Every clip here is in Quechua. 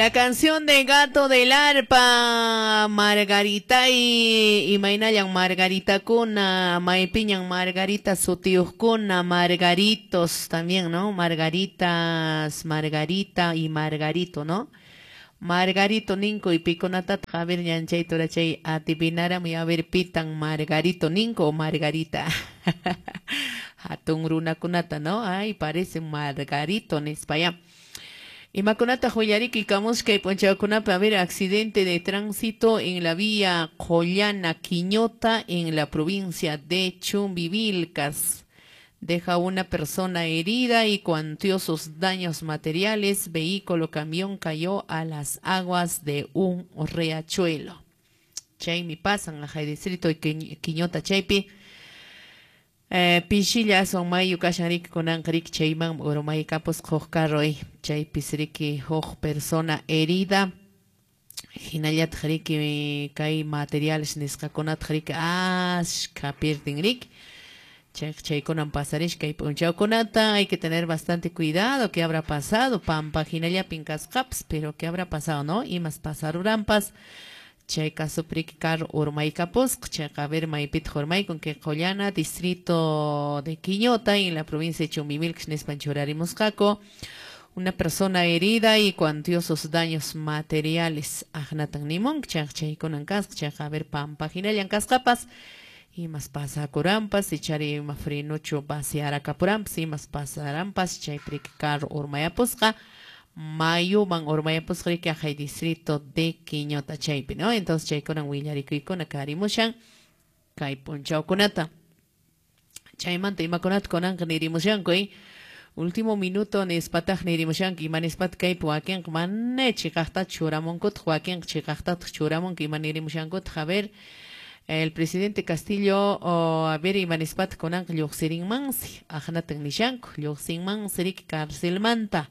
La canción de Gato del Arpa, Margarita y imaynallan Margarita kuna, maypiñan Margarita sutiyuqkuna, Margaritos también, ¿no? Margaritas, Margarita y Margarito, ¿no? Margarito ninko y pikunatata a ver ñanchay turachay atipinaramuy a ver pitan Margarito ninko o Margarita. Hatun runakunata, ¿no? Ay, parece Margarito nispa ya. Imakunata willariki kamushkay p'unchawkunapi, a ver, accidente de tránsito en la vía Qollana Quiñota en la provincia de Chumbivilcas. Deja una persona herida y cuantiosos daños materiales. Vehículo camión cayó a las aguas de un riachuelo. Chaymi pasan a distrito de Quiñota chaypi. Pishilla aswan mayu kashan riki kunanqa riki chayman urmaykapusqa huk carro chaypis riki huk persona herida hinallataq riki kay materiales nisqakunataq riki ashka pierdin riki chayqa chaykunan pasarish kay p'unchawkunata. Hay que tener bastante cuidado. ¿Qué habrá pasado? Pampa hinallapin kasqapas, pero ¿qué habrá pasado, no? Imas pasaruranpas chay casopi riki carro urmaykapusqa. Chayqa a ver maypitaq urmaykun kay Qollana, distrito de Quiñota, en la provincia de Chumbivilcas nispan churarimusqaku. Una persona herida y cuantiosos daños materiales aqnatan nimunqa. Chayqa chaykunan kasqa. Chayqa a ver pampa hinallan kasqapas imas pasakuranpas ichari ima frenuchu vaciarakapuranpas imas pasaranpas chaypi riki carro urmayapusqa mayuman urmayapusqa riki aqhay distrito de Quiñota chaypi, ¿no? Entonces chaykunan willarikuykuna karimushan kay p'unchawkunata. Chaymanta imakunata kunanqa nirimushanku, último minuto nispataq nirimushanku. Ima nispataq kaypi wakinqa mana chiqaqtachu churamunkutaq, wakinqa chiqaqtataq churamunku. Ima nirimushankutaq? A ver, el presidente Castillo, a ver, ima nispataq kunanqa lluqsirinmansi aqnatan nishanku, lluqsinmansi riki carcelmanta.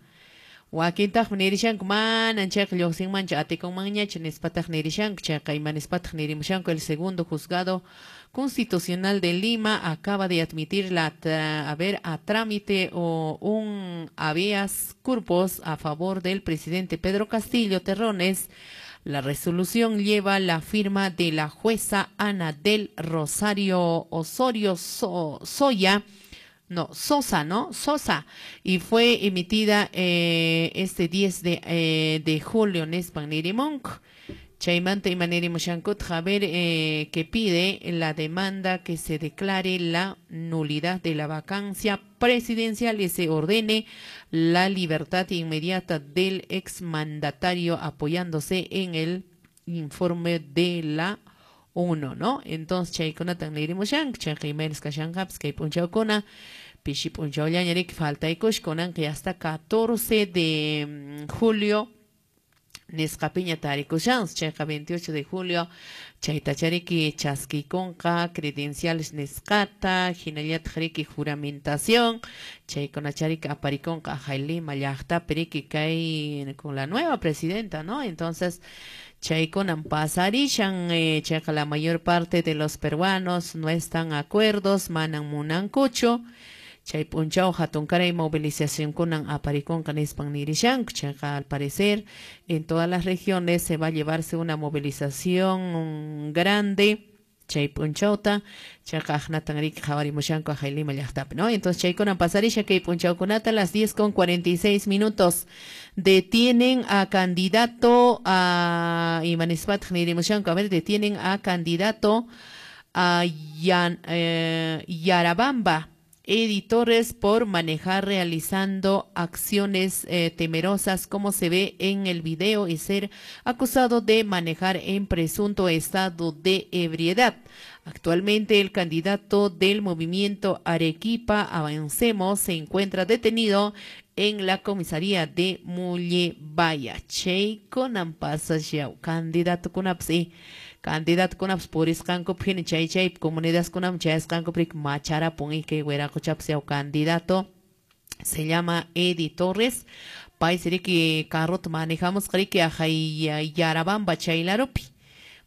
Wakintaqmi nirishanku manan chayqa lluqsinmanchu, atikunmanñachu nispataq nirishanku. Chayqa ima nispataq nirimushanku. El segundo juzgado constitucional de Lima acaba de admitir la a ver a trámite o un habeas corpus a favor del presidente Pedro Castillo Terrones. La resolución lleva la firma de la jueza Ana del Rosario Osorio Soya, no, Sosa, ¿no? Sosa, y fue emitida este 10 de julio nispan nirimunku. Chaymanta ima nirimushankutaq, a ver, que pide la demanda que se declare la nulidad de la vacancia presidencial y se ordene la libertad inmediata del exmandatario apoyándose en el informe de la ONU, ¿no? Entonces chaykunatan nirimushanku. Chayqa imaynas kashanqapas kay p'unchawkuna pishi p'unchawllaña riki faltaykush kunanqa hasta 14 de julio nisqapiña tarikushansi. Chayqa 28 de julio chaytacha riki chaskikunqa credenciales nisqata hinallataq riki juramentación chaykunacha riki aparikunqa aqhay Lima llaqtapi riki kay con la nueva presidenta, ¿no? Entonces chaykunan pasarishan. Chayqa la mayor parte de los peruanos no están acuerdos, manan munankuchu. Chay p'unchaw hatunkaray movilizacionkunan aparikunqa nispan nirishanku. Chayqa al parecer en todas las regiones se va a llevarse una movilización grande chay p'unchawta. Chayqa aqnatan riki qhawarimushanku aqhay Lima llaqtapi, ¿no? Entonces chaykunan pasarisha kay p'unchawkunata. Las 10:46 detienen a candidato a ima nispataq nirimushanku, a ver, detienen a candidato a Yarabamba Editores por manejar realizando acciones temerosas como se ve en el video y ser acusado de manejar en presunto estado de ebriedad. Actualmente el candidato del movimiento Arequipa Avancemos se encuentra detenido en la comisaría de Mullebaya. Chaykunan pasasyaw candidato kunapas candidato kunapas purisqankupi hina chay chay comunidadkunaman chayasqankupi riki macharapun kay wiraquchapas yaw. Candidato se llama Eddie Torres, paysi riki carrota manejamusqa riki aqhay Yarabamba chaylarupi.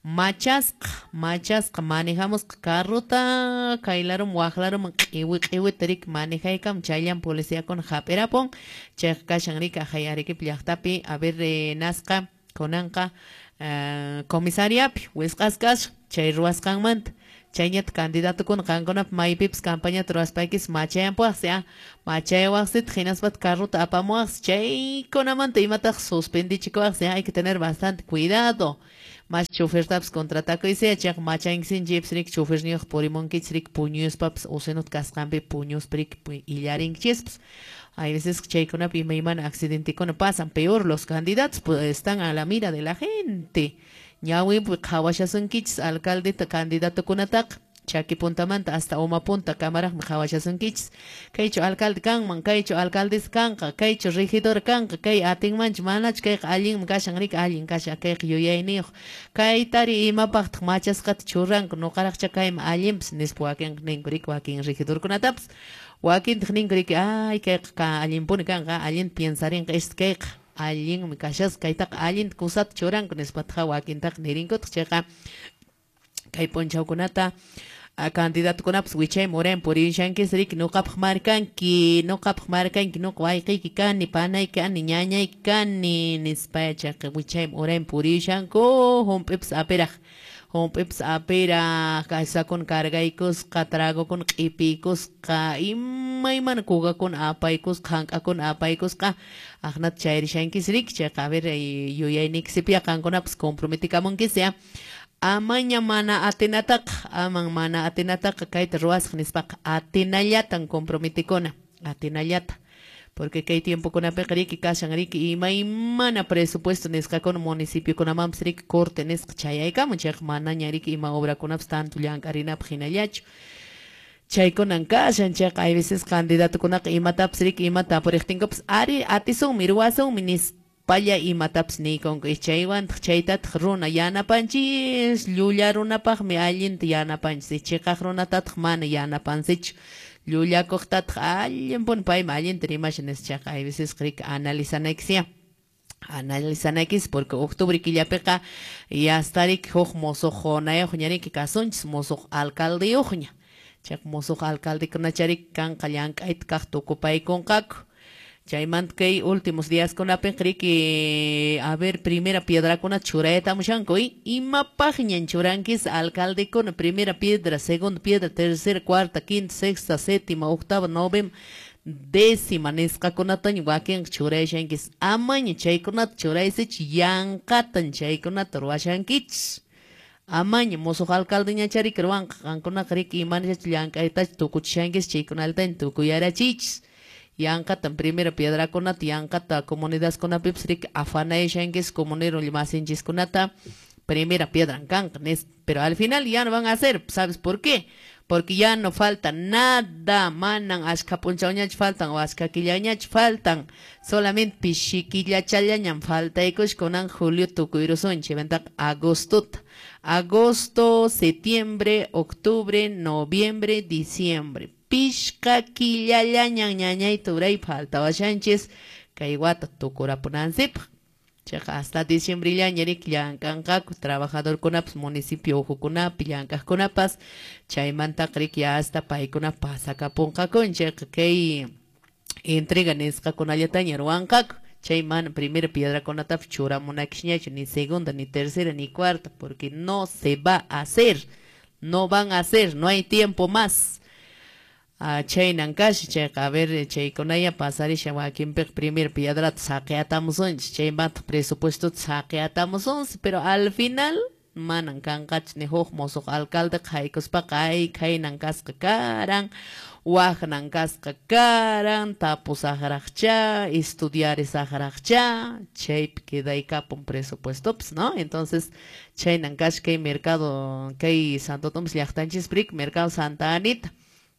Machasqa manejamusqa carrota kay laruman waq laruman q'iwi q'iwita riki manejaykam chayllan policiakuna hap'irapun chayqa kashan riki ahay Arequipa llaqtapi a ver nasqa kunanqa comisariapi wisq'asqa kashan chay ruwasqanmanta chayñata candidatokuna qankunapi maypipas campañata ruwaspaykis machayanpuwaqsi machayawaqsitaq hinaspataq carrota apamuwaqsi chaykunamanta imataq suspendichikuwaqsi hay que tener bastante cuidado. Mas chofertapas contratakuysi chayqa machankisinchikpas riki choferniyuq purimunkichis riki puñuspapas usinut kasqanpi puñuspa riki illarinkichispas. Hay veces chaykunapi imaymana accidentekuna pasan, peor los candidatos pues, están a la mira de la gente. Ñawinpi qhawashasunkichis alcaldeta candidatokunataqa chaki puntamanta hasta uma punta kamaraqmi qhawashasunkichis. Kaychu alcalde kanman, kaychu alcaldesa kanqa, kaychu regidor kanqa, kay atinmanchu manachu, kayqa allinmi kashan riki allin kashan kayqa yuyayniyuq. Kaytari imapaqtaq machasqata churanku nuqaraqcha kayman allinpas nispa wakinqa ninku riki wakin regidorkunatapas. Wakintaq ninku riki ay kayqa allinpuni kanqa allinta piensarinqa este kayqa allinmi kashasqa kaytaqa allinta kusata churanku nispataqa wakintaqa nirinkutaq chayqa kay p'unchawkunata candidatokunapas wichayman urayman purishankis riki nuqapaq markanki nuqapaq markanki nuqa wayqiyki kani panayki kani ñañayki kani nispa chayqa wichayman urayman purishanku hump'ipas apiraq hump'ipas apiraq kasakuna cargaykusqa tragokuna q'ipiykusqa imaymana kukakuna apaykusqa hank'akuna apaykusqa aqnata chayrishankis riki chayqa a ver yuyayniykisipiya qankunapas comprometikamunkis ya. Amaña mana atinataqa, aman mana atinataqa kayta ruwasaq nispaqa atinallatan comprometikuna, atinallata. Porque kay tiempokunapiqa riki kashan riki imaymana presupuesto nisqakuna municipiokunamanpas riki corte nisqa chayaykamun chayqa manaña riki ima obrakunapas tanto llank'arinapaq hinallachu. Chaykunan kashan chayqa hay veces candidatokunaqa imatapas riki imata apuriqtinkupas ari atisunmi ruwasunmi nispa palla imatapas niykunku chaywantaq chaytataq runa yanapanchis llulla runapaqmi allinta yanapanchis chiqaq runatataq mana yanapansichu llullakuqtataq allinpuni paymi allinta rimashan nispa chayqa hay veces riki analizanaykisya analizanaykis porque octubre killapiqa yasta riki huk musuqunayuqña riki kasunchis musuq alcaldeyuqña chayqa musuq alcaldekunachari riki kanqa llank'ayta kaq tukupaykunqaku. Chaymanta kay últimos díaskunapiqa riki a ver primera piedrakuna churaytamushanku imapaqñan churankis alcaldekuna primera piedra, segunda piedra, tercera, cuarta, quinta, sexta, séptima, octava, novena, décima nisqakunataña wakinqa churayashankis amaña chaykunata churaysichik yanqatan chaykunata ruwashankichis. Amaña musuq alcaldeñachariki ruwanqa qankunaqa riki imanashachu llank'aytachu tukuchishankis chaykunallataña tukuyarachiychis. Yanqatan primera piedrakunata yanqata comunidadkunapipas riki afanayashankis comunero masinchiskunata primera piedra kanqa nispa pero al final ya no van a hacer, ¿sabes por qué? Porque ya no falta nada, manan ashka p'unchawñachu faltan o ashka killañachu faltan, solamente pishi killachallañan faltaykush kunan julio tukuyrusunchik chaymantaqa agostota, agosto, septiembre, octubre, noviembre, diciembre. Pishka killallañan ñañayta uray faltawashanchis kay wata tukurapunansipaq. Chayqa hasta diciembrellaña riki llank'anqaku trabajadorkunapas municipio uhukunapi llank'aqkunapas chaymantaqa riki hasta paykuna pasakapunqakun chayqa kay entrega nisqakunallataña ruwanqaku. Chay mana primera piedrakunatapas churamunakishñachu ni segunda ni tercera ni cuarta porque no se va a hacer, no van a hacer, no hay tiempo más. Chaynan kasha chayqa a ver chaykunaya pasarisha wakinpiqa primera piedrata saqiyatamusunchis chaymanta presupuestota saqiyatamusunchis pero al final manan kanqachu ni huk musuq alcaldeqa haykuspaqa ay khaynan kasqa karan waqnan kasqa karan tapusaqraqcha estudiarisaqraqcha chaypi quedaykapun presupuestopas, ¿no? Entonces chaynan kasha kay mercado kay Santo Tomás llaqtanchispi riki mercado Santa Anita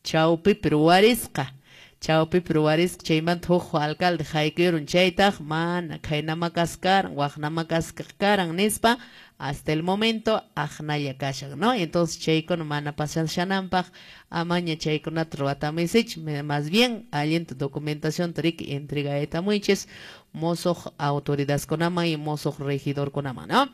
chawpipi ruwarisqa chawpipi ruwarisqa chaymanta huk alcalde haykuyurun chaytaq mana khaynama kasqa karan waqnama kasqa karan nispa hasta el momento aqnalla kashan, ¿no? Entonces chaykuna mana pasashananpaq amaña chaykunata ruwatamuysichik más bien allinta documentación riki entregaytamuychis musuq autoridadkunaman y musuq regidorkunaman, ¿no?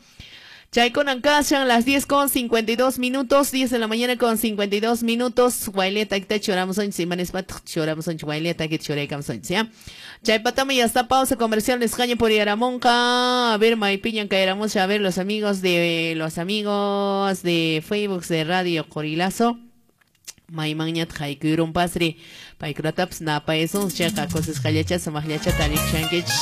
Chaykunan kashan las 10 con 52 minutos, 10 de la mañana con 52 minutos. Wayleta kita churamusunchis, imanispat churamusunchis, wayleta kita churaykamusunchis, ya. Chaypatama ya está pausa comercial nisqaña puriyaramunqa. A ver, maypiñan kayaramusha, a ver los amigos de Facebook de Radio Qorilazo. Maymanñataq haykuyrumpasri, paykunatapas napaysun, chayqa kusisqallacha sumaqllacha tarikushankichis.